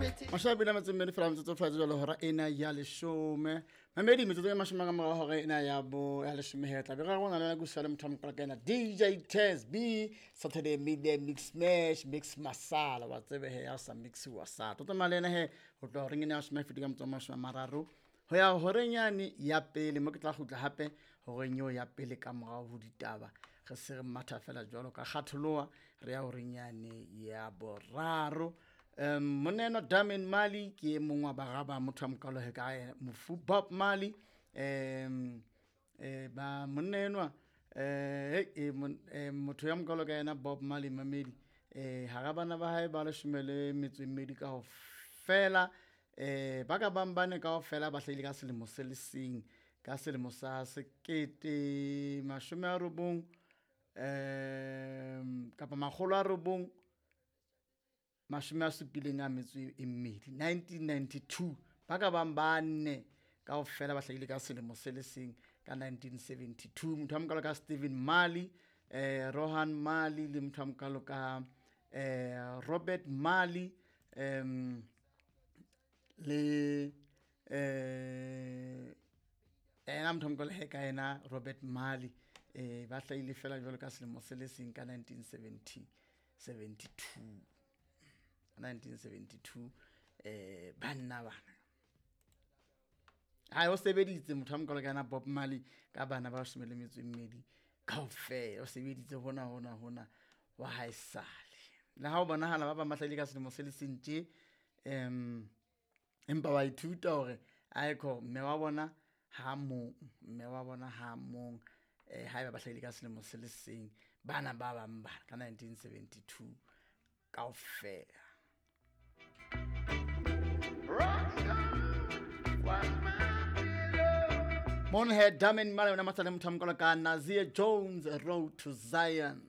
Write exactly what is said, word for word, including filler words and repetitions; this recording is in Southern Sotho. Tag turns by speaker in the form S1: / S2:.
S1: Mashabile metsotso mmedi fela metsotso fela jalo hora ena ya leshome mamedi metsotso e mashome ka morao hora ena ya bo ya leshome he tla be re rona le go le motho wa ka ena D J Tez B Saturday Midday Mix Smash Mix Masala wa tsebe he ya sa mix wa sa tlo tsamaya le ena he ho tloha horeng ena ya shome feti ka motso mashome a mararo ho ya horeng yane ya pele mo ke tla kgutla hape horeng eo ya pele ka morao ho ditaba re se re matha fela jwalo ka kgatholoha re ya horeng yane ya boraro. Um monna Damian Marley ke e mong wa bara ba motho a mokalo he ka mofu Bob Marley um eh ba monna enwa eh eh motho ya mokalo ka yena Bob Marley mamedi eh hara bana ba hae ba leshome le metso e mmedi ka ho fela eh ba ka bang bane ka ofela ba hlahile ka selemo se le seng ka selemo sa sekete mashome a robong um kapa makgolo a robong mashome a supileng a metso e mmedi nineteen ninety-two ba ka bang ba nne kaofela ba hlahile ka selemo se le seng ka nineteen seventy-two motho a mokalo ka Stephen Marley eh Rohan Marley le motho a mokalo ka eh Robert Marley um le eh ena motho a mokalo he ka ena Robert Marley eh ba hlahile fela jwalo ka selemo se le seng ka nineteen seventy seventy-two nineteen seventy-two eh banna bana ha o sebeditse motho a mokalo ka yena Bob Marley ka bana ba leshome le metso e mmedi kaofela o sebeditse hona hona hona wa haesale le ha o bonahala ba bang ba hlahile ka selemo se le seng tje em empa wa ithuta hore aekho mme wa bona ha mong mme wa bona ha mong eh haeba ba hlahile ka selemo se le seng bana ba bang ba ka nineteen seventy-two kaofela. Monhead Damian Marley ona matsale motho a mokalo ka Nazir Jones, Road to Zion.